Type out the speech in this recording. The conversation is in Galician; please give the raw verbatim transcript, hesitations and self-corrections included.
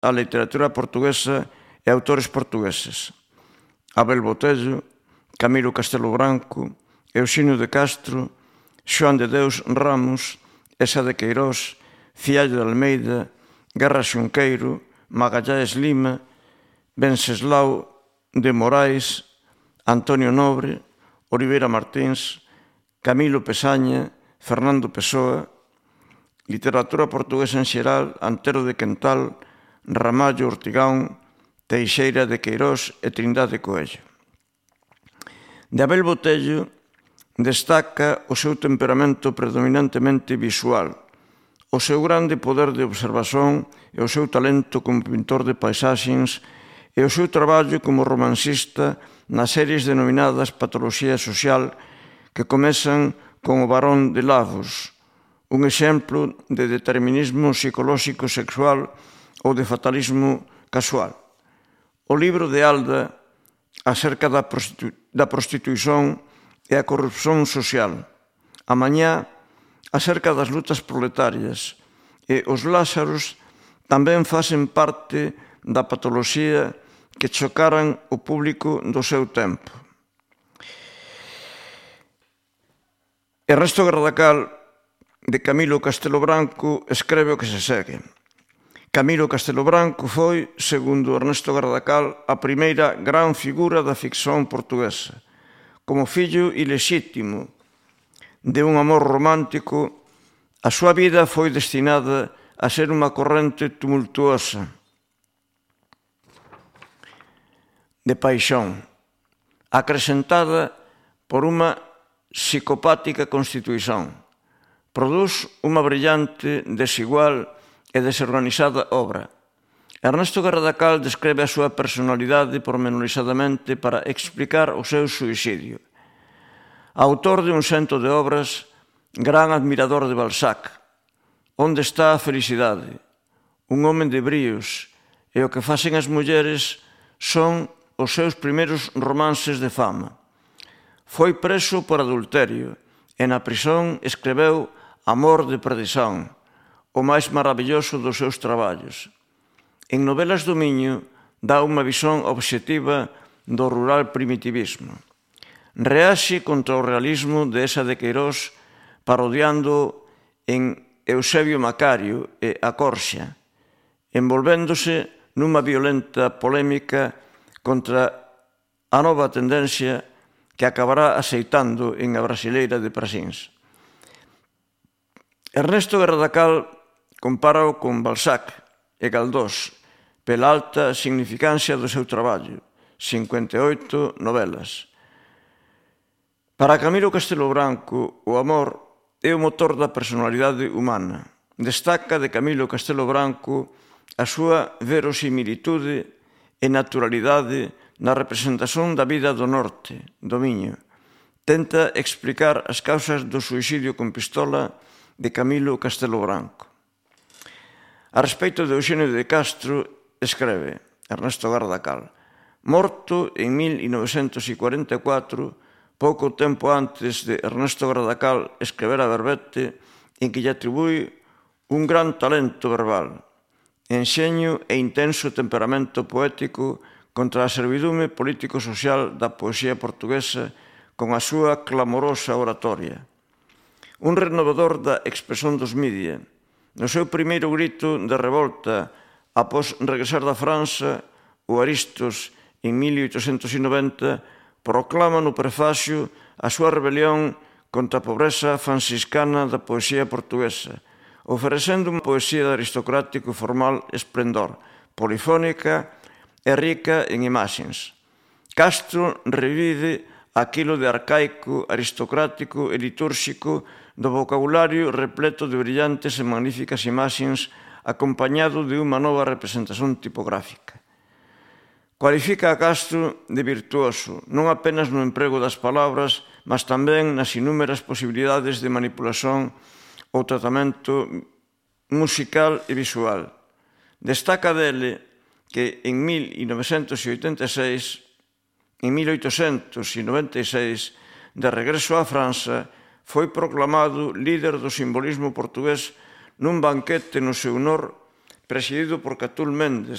a literatura portuguesa e autores portugueses. Abel Botello, Camilo Castelo Branco, Euxenio de Castro, Xoán de Deus Ramos, Esa de Queirós, Fiallo de Almeida, Guerra Xunqueiro, Magallanes Lima, Venceslao de Morais, Antonio Nobre, Oliveira Martins, Camilo Pesaña, Fernando Pessoa, literatura portuguesa en xeral, Antero de Quental, Ramallo Ortigán, Teixeira de Queirós e Trindade Coello. De Abel Botello destaca o seu temperamento predominantemente visual, o seu grande poder de observación e o seu talento como pintor de paisaxes e o seu traballo como romancista nas series denominadas Patoloxía Social que comezan con O Barón de Lavos, un exemplo de determinismo psicolóxico sexual ou de fatalismo casual. O libro de Alda acerca da, prostitu da prostituición e a corrupción social. A mañá acerca das lutas proletarias e os Lázaros tamén facen parte da patoloxía que chocaran o público do seu tempo. Ernesto Gardacal, de Camilo Castelo Branco, escreve o que se segue. Camilo Castelo Branco foi, segundo Ernesto Gardacal, a primeira gran figura da ficción portuguesa. Como fillo ilexítimo de un amor romántico, a súa vida foi destinada a ser unha corrente tumultuosa de paixón, acrecentada por unha psicopática constituición. Produz unha brillante, desigual e desorganizada obra. Ernesto Gardacal describe a súa personalidade pormenorizadamente para explicar o seu suicidio. Autor de un cento de obras, gran admirador de Balzac. Onde está a felicidade? Un home de bríos, e o que facen as mulleres son os seus primeiros romances de fama. Foi preso por adulterio e na prisón escreveu Amor de perdición, o máis maravilloso dos seus traballos. En Novelas do Miño dá unha visión obxectiva do rural primitivismo. Reaxe contra o realismo de Esa de Queirós parodiando en Eusebio Macario e a Corxa, envolvéndose nunha violenta polémica contra a nova tendencia que acabará aceitando en A Brasileira de Prasins. Ernesto Gardacal compárao con Balzac e Galdós pela alta significancia do seu traballo, cincuenta e oito novelas. Para Camilo Castelo Branco, o amor é o motor da personalidade humana. Destaca de Camilo Castelo Branco a súa verosimilitude e naturalidade na representación da vida do norte, do Miño. Tenta explicar as causas do suicidio con pistola de Camilo Castelo Branco. A respecto de Euxenio de Castro, escreve Ernesto Gardacal: morto en mil novecentos cuarenta e catro, pouco tempo antes de Ernesto Gardacal escrever a Verbete, en que lle atribui un gran talento verbal, enxeño e intenso temperamento poético contra a servidume político-social da poesía portuguesa con a súa clamorosa oratoria. Un renovador da expresión dos media. No seu primeiro grito de revolta após regresar da França, o Aristos, en mil oitocentos noventa, proclama no prefacio a súa rebelión contra a pobreza franciscana da poesía portuguesa, oferecendo unha poesía de aristocrático e formal esplendor, polifónica e rica en imaxes. Castro revive aquilo de arcaico, aristocrático e litúrxico do vocabulario repleto de brillantes e magníficas imaxes acompañado de unha nova representación tipográfica. Cualifica a Castro de virtuoso, non apenas no emprego das palabras, mas tamén nas inúmeras posibilidades de manipulación ou tratamento musical e visual. Destaca dele que en mil novecentos oitenta e seis, en mil oitocentos noventa e seis, de regreso á França, foi proclamado líder do simbolismo portugués nun banquete no seu honor presidido por Catul Méndez,